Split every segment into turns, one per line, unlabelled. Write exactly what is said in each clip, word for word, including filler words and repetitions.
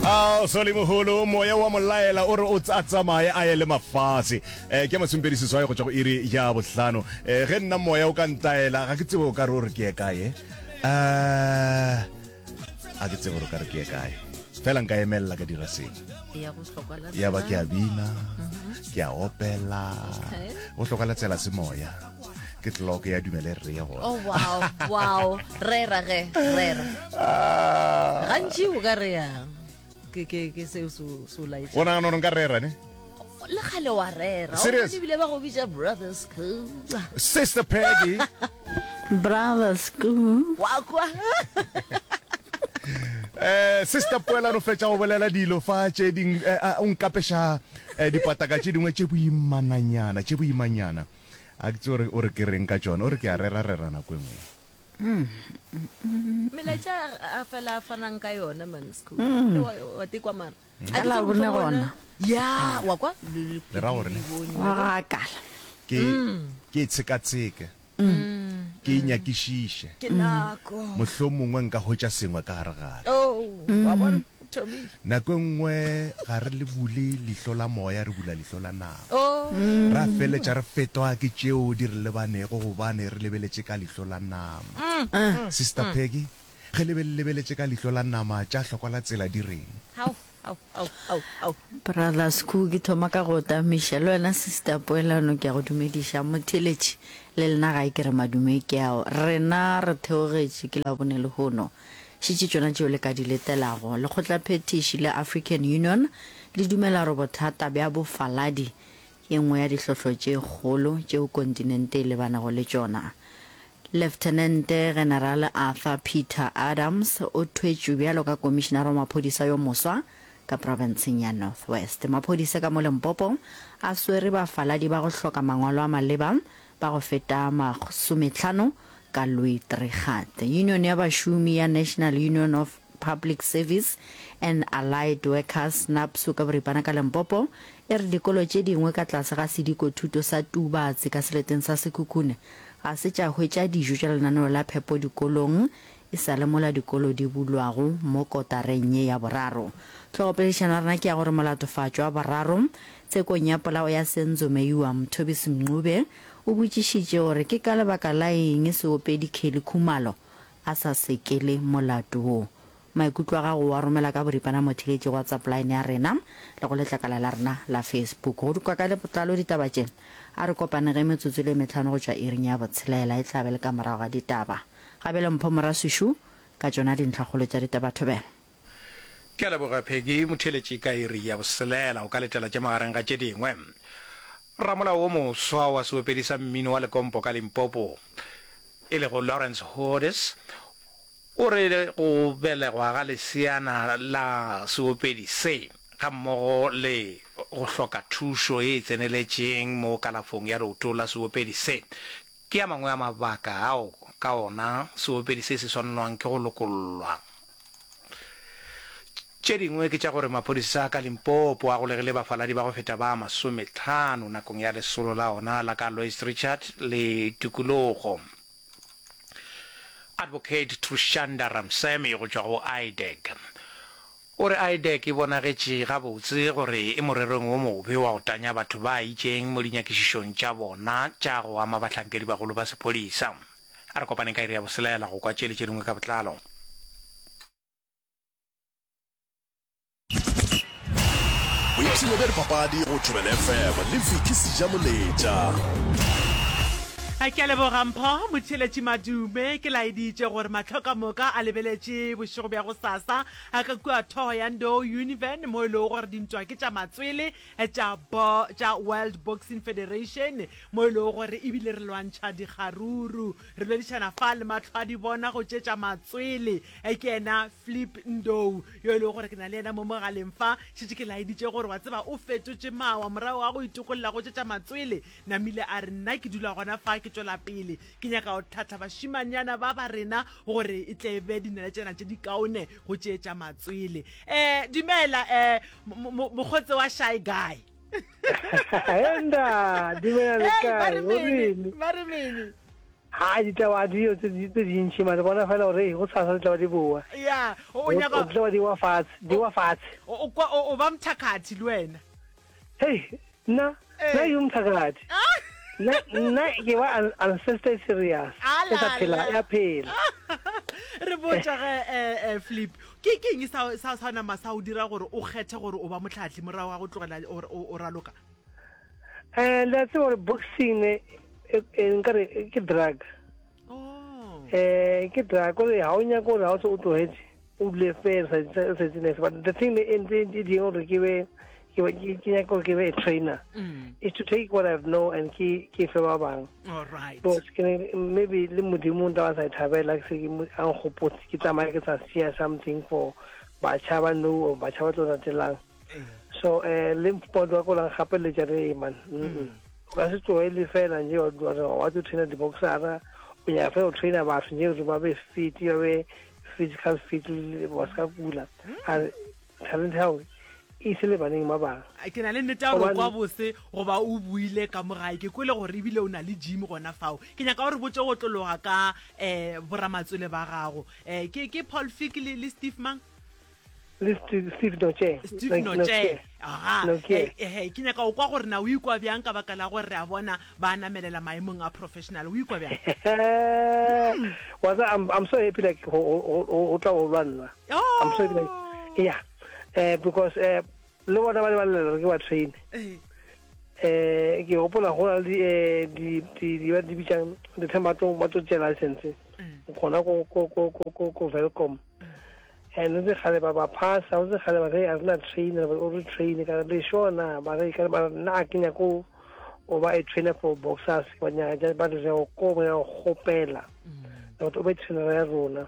A sole mogolo moya wa molaela o re o tsa tsamaye a ye le mafase. Eh ke masomepedi seswai go tšwa go iri ya bohlano. Eh ge nna moya o ka ntaela ga ke tsebe o ka re o re ke ye kae. Eh a ke tsebe gore o ka re ke ye kae. Fela nka emelela ka dira sengwe.
Ya go hlokwa la
Ya ba ke a bina, ke a opela.
Okay.
Go hloka la tsela se moya. Ke clock ya dumele re ye gona.
Oh wow, wow. Rera ge, rera.
Ah.
Gantši o ka re yang? Ke ke ke seo se se o laetša.
O nagana gore nka rera ne?
Le kgale wa rera.
Serious?
O ebile ba go bitša brother school.
Sister Peggy.
Brother school.
Wa kwa.
Eh Sister Poelano fetša go bolela dilo fa tše ding eh, o nkapeša eh, dipataka tše dingwe tše boimananyana tše boimanyana. A ke tsebe gore o re ke reng ka tšona, o re ke a rera rera nako e nngwe.
Melaetša a fela a fanang ka yona man school. Wa wa tekwa mara.
Ka Labone gona.
Ya, wa kwa?
Le ra gore ne?
Wa gakala.
Ke ke e tshekatsheke. Ke e nyakišiše.
Ke nako.
Mohlomongwe nka hwetša sengwe ka gare gare.
Oh, wa bona? Thomile.
Nako e nngwe ga re le bule leihlo la moya, re bula leihlo la nama.
Oh.
Ra feletša re fetwa ke tšeo di re lebanego gobane re lebeletše ka leihlo la nama. Sister Peggy, ge le be le lebeletše ka leihlo la nama, tša hlokwa la tsela di reng?
Hao, hao, hao, hao, hao.
Brother Skhoo, ke thoma ka go tamiša. Le wena Sister Poelano ke a go dumediša. Motheeletši, le lena gae ke re madume ke ao. Rena re theogetše ke Labone lehono. Šetše tšona tšeo le ka di letelago. Lekgotlaphethiši la African Union le dumela gore bothata bja bofaladi ke e nngwe ya dihlohlo tše kgolo tšeo kontinente e lebanego le tšona. Leftenente Generale Arthur Peter Adams o thwetšwe bjalo ka Komišinara wa Maphodisa yo moswa ka profenseng ya North West. Maphodisa ka mo Limpopo a swere bafaladi ba go hloka mangwalo a maleba ba go feta masomehlano ka Louis Trichardt. Union ya bašomi ya National Union of Public Service and Allied Workers, NUPSAW, ka boripana ka Limpopo e re dikolo tše dingwe ka tlase ga sedikothuto sa Tubatse ka seleteng sa Sekhukhune ga se tša hwetša dijo tša lenaneo la phepo dikolong e sa le mola dikolo di bulwago mo kotareng ye ya boraro. Hlogopoledišano ya rena ke ya gore molatofatšwa wa boraro tshekong ya polao ya Senzo Meyiwa Mthobisi Mncube o botšišitše gore ke ka lebaka la eng seopedi Kelly Khumalo a sa sekele molato wo. Maikutlo a gago o a romela ka boripana motheeletši go WhatsApp line ya rena le go letlakala la rena la Facebook. Go di kwa ka botlalo ditaba tše, a re kopane ge metsotso e le mehlano go tšwa iring ya botshelela e tla be le ka morago ga ditaba. Gabele Mpho Moraswišu ka tšona dintlhakgolo tša ditaba thobela.
Ke a leboga Peggy, motheeletši ka iri ya boselela o ka letela tše magareng ga tše dingwe. Ramolao wo moswa wa seopedi sa mmino wa Lekompo ka Limpopo e lego Lawrence Hodes o re go belegwa ga leseana la seopedi se gammogo le go hloka thušo ye e tseneletšeng mo kalafong ya leoto la seopedi se ke a mangwe a mabaka ao ka ona seopedi se se swanelwang ke go lokollwa. Tše dingwe ke tša gore maphodisa ka Limpopo a golegile bafaladi ba go feta ba masometlhano nakong ya lesolo la ona la ka Louis Trichardt le tikologo. Advocate Trushanda Ramsamy go tšwa go I D E C o re I D E C e bonagetše gabotse gore e morerong wo mobe wa go tanya batho ba itšeng mo dinyakišišong tša bona tša go ama bahlankedibagolo ba sephodisa. A re kopaneng ka iri ya boselela go kwa tše le tše dingwe ka botlalo.
Boipshino bja dipapadi go Thobela F M le Vicky Sejamoletša.
Ke a leboga Mpho Motheeletši Madume. Ke laeditše gore mahlo ka moka a lebeletše bošego bja gosasa ka kua Thohoyandou Univen mo e lego gore dintwa ke tša matswele tša bo tša World Boxing Federation mo e lego gore ebile re lwantšha dikgaruru. Re boledišana fa le mahlo a di bona go tše tša matswele ke yena Flip Ndou yo e lego gore ke na le yena mo mogaleng fa. Šetše ke laeditše gore wa tseba o fetotše mawa morago ga go itokolla go tše tša matswele. Namile a re nna ke dula gona fa ke tšwela pele ke nyaka go tlhahla bašimanyana ba ba rena gore e tle be dinaletšana tše di kaone go tše tša matswele. Um dumela um mokgotse wa Shy Guy.
Enda, dumela le kae?
Ba re mene.
Ha ditaba di yo tse tse dintši mare bona fela gore go sasa di tla ba di boa.
Ya, o
O
nyaka
tla ba di wa fatshe, di wa fatshe.
O kwa o ba mthakathi le wena.
Hey, nna nna yo mthakathi. Nna nna ke ba ancestor serious. E sa phela ya phela.
Re botša ge eh, eh, Flip, ke ke eng sa sa sa nama sa o dira gore o kgethe gore o ba motlhatli morago ga go tlogela o raloka?
Eh, le a tseba gore boxing e nkare ke drug.
Oh.
Eh, ke drug gore ha o nyaka gore ha o se o tlohetse o dule fela sa sa itse next. But the thing e ntse e dira gore ke be ke ke nyaka gore ke be a trainer
Mm.
is to take what I've know and ke ke fe ba bang.
All right.
Because ke ne- maybe le modimo nta ba sa e thabela ke se ke mo- a nkgopotse ke tsamaya ke sa sia something for batjha ba nou or batjha ba tlo latelang. So eh le mpod wa ko lang gapeletša re man. Mm. O ka se tlohele fela nje wa wa wa tlo trainer di-boxera o nyaka fela o trainer batho nje gore ba be fit ba be physical fit le- ba se ka kula. A re, talent ya hao e ise le baneng ba bang.
Ke na le nnete ya gore
Gobane-
kwa bose goba o buile ka mo gae ke kwele gore ebile o na le gym gona fao. Ke nyaka gore botse go tlologa ka um boramatswele ba gago. Um ke ke Paul Fick le le Steve mang?
Le Steve Steve Noche.
Steve Noche. Aha.
Noche.
Eh, eh, ke nyaka go kwa gore na o ikwa bjang ka baka la gore re a bona ba namelela maemong a professional. O ikwa bjang?
Wa tseba, I'm I'm so happy like go go go tla go lwa nna. I'm so happy like yeah. Eh because eh le bona ba le ba lela ke ba train.
Eh.
Eh ke gopola go na le di eh di di di ba di bitsang the time ba tlo ba tlo tšea license. Gona ko ko ko ko ko ko Welkom. And ntse kgale ba ba phasa, ntse kgale ba re a rena trainer, ba re train ka re sure na ba re ka ba nna ke nyako o ba a trainer for boxers ba nyaka ba re go ko ba go gopela. Gore o be trainer ya rona.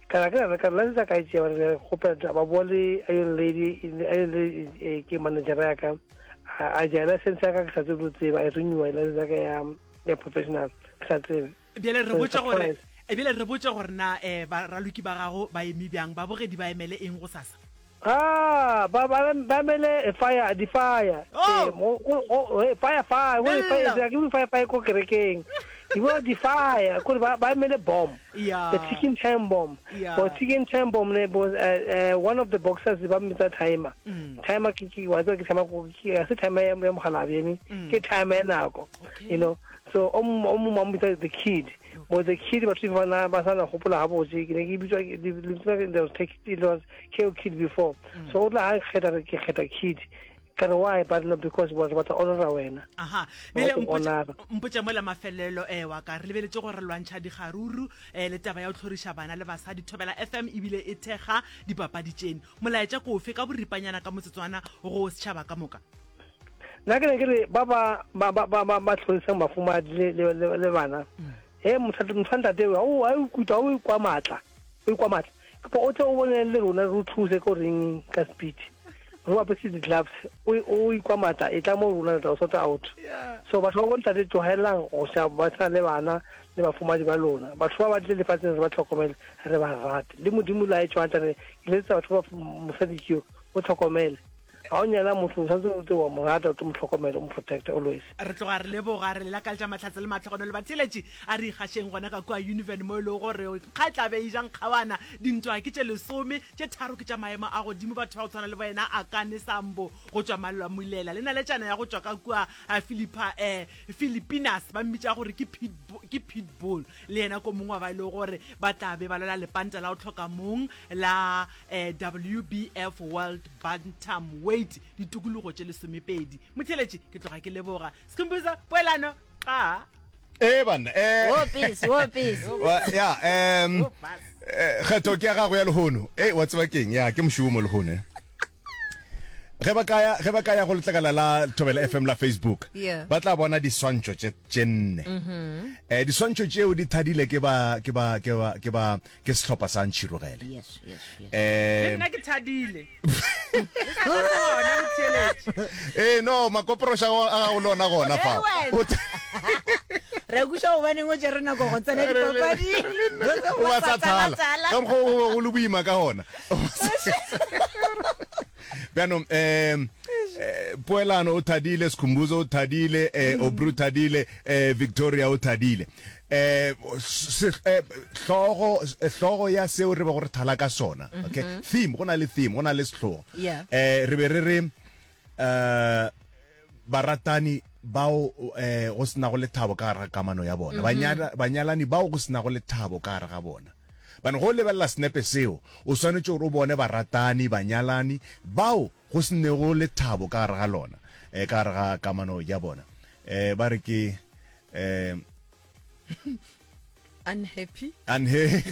Ka ra ka ka license ka e tšea ba re gopela ba bua le a young lady a young lady eh, ke manager ya ka a a ja license ya ka ke sa tsebe go tseba e renew license ya ka ya ya professional ke sa tsebe.
Bjale re
So,
botša gore
surprise.
ebile re botše gore na um baraloki ba gago ba eme bjang babogedi ba emele eng go sasa?
Ah, ba ba ba mele fire di fire.
Oh!
Eh, mo go go eh, fire fire, go fire,
Bella.
ke go fire fire ko kerekeng. Di bo di fire, ko ba ba mele bomb.
Yeah.
The ticking time bomb.
Yeah.
But ticking time bomb ne was uh, uh, one of the boxers ba mmitsa timer.
Mm.
Timer ke ke wa tseba ke timer go ke se timer ya ya mogalabi ene.
Mm.
Ke timer ya nako. You know. So o mo o mo mmitsa the kid. But the kid batho ba na ba sa na gopola ga botse ke ne ke bitswa ke lebitso la ke- there was take it was K O kid before. So o tla ha kgetha re ke kgetha kid. Ka re why but no because wa batla honora wena.
Aha.
Ba
Bjale
go
mpotše
honora.
mpotše mola mafelelo eh wa ka re lebeletše gore re lwantšha dikgaruru eh le taba ya go tlhoriša bana le basadi Thobela F M ebile e thekga dipapadi tšeno. Molaetša ke ofe ka boripanyana ka motsotswana go setšhaba ka moka?
Nna ke ne ke re ba ba ba ba ba ba ba tlhorisang mafumadi le le le le bana. He motho motho ntate o o a ikutlwa o ikwa matla. O ikwa matla. Ke o tle o bone le rona re o thuse ko ring ka speed. Re o apese di-gloves o o ikwa matla e tla mo rona re tla o sort out. So batho ba bontate tlogelang go sa ba tshwana le bana le bafumadi ba lona. Batho ba ba tle lefatsheng re ba tlhokomele re ba rate. Le modimo la e tshwana re ke letsa batho ba mosadi ke yo o tlhokomele. Ha o nyala motho o tshwanetse o tle wa mo rata o tlo mo tlhokomela o mo protect always.
Re tloga re leboga re lelakaletša mahlatse le matlhogono le batheeletši a re ikgašeng gona ka kua Univen mo e lego gore kga tla be e jang kgawana dintwa ke tše lesome tše tharo ke tša maemo a godimo batho ba go tshwana le boena Akane Sambo go tšwa Malwamulela le naletšana ya go tšwa ka kua Philippa eh Filipinas ba mmitša gore ke Pitbull, ke Pitbull le yena ko mongwe wa ba e lego gore ba tla be ba lwela lepanta la go tlhoka mong la eh, W B F World Bantamweight ditokologo tše lesomepedi. Motheeletši ke tloga ke leboga. Skhumbuzo poelano qa.
Eh banna, eh.
Wopis, wopis.
Wa, ya, em, eh, kgetho ke ya gago ya lehono. Eh, wa tseba keng? Ya, ke mošomo lehono, eh. Ge ba ka ya, ge ba ka ya go letlakala la Thobela F M la Facebook,
Yeah.
ba tla bona diswantšho tše tše nne.
Mhm.
Eh, diswantšho tšeo di thadile ke ba, ke ba, ke ba, ke ba, ke sehlopha sa Ntšhirogele.
Yes, yes, yes.
Eh,
Le nna ke thadile.
Eh, no, makoproša a gago le ona gona fa.
Eh, wena. Re kweša gobaneng o tšere nako go tsena dipapading.
O ba sa thala. Ka mokgwa o go le boima ka gona. Bjanong, em, eh, eh Poelano o thadile, Skhumbuzo o thadile, eh Obru thadile, eh Victoria o thadile. Eh se eh, hlogo hlogo ya seo re bego re thala ka sona. Okay. Theme, go na le theme, go na le sehlogo.
Yeah.
Eh re be re re eh baratani bao eh go se nago lethabo ka gare ga kamano ya bona. Banyala banyalani bao go se nago lethabo ka gare ga bona. Bane go lebelela senepe seo, o swanetše gore o bone baratani, banyalani bao go se nego lethabo ka gare ga lona, eh ka gare ga kamano ya bona. Eh ba re ke eh
Unhappy.
Unha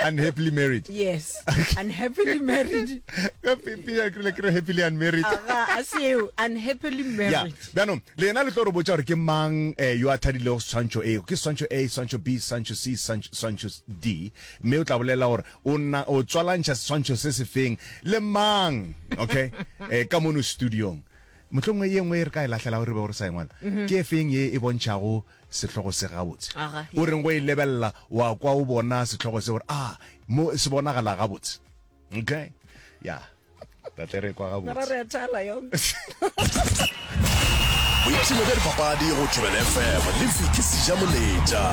unhappily married.
Yes. Unhappily married.
Ka pipi ya krile ke re happily unmarried.
Aga, a seo, unhappily
Ya,
married.
bjanong le yena le tlo re botša gore ke mang eh, yo a thadilego seswantšho A, ke seswantšho A, seswantšho B, seswantšho C, seswantšho, seswantšho D, mme o tla bolela gore o na o tswalantšha seswantšho se sefeng le mang, okay, eh, ka mono studiong. Mohlomongwe ye nngwe e re ka e lahlelago re bego re sa e ngwala, ke e feng ye e bontšhago sehlogo se gabotse?
Aga,
O reng go e lebelela wa kwa o bona sehlogo se gore a mo se bonagala gabotse. Okay, ya tate re kwa
Mara
gabotse.
re a thala yona.
Boipshino bja dipapadi go Thobela F M le Vicky Sejamoletša.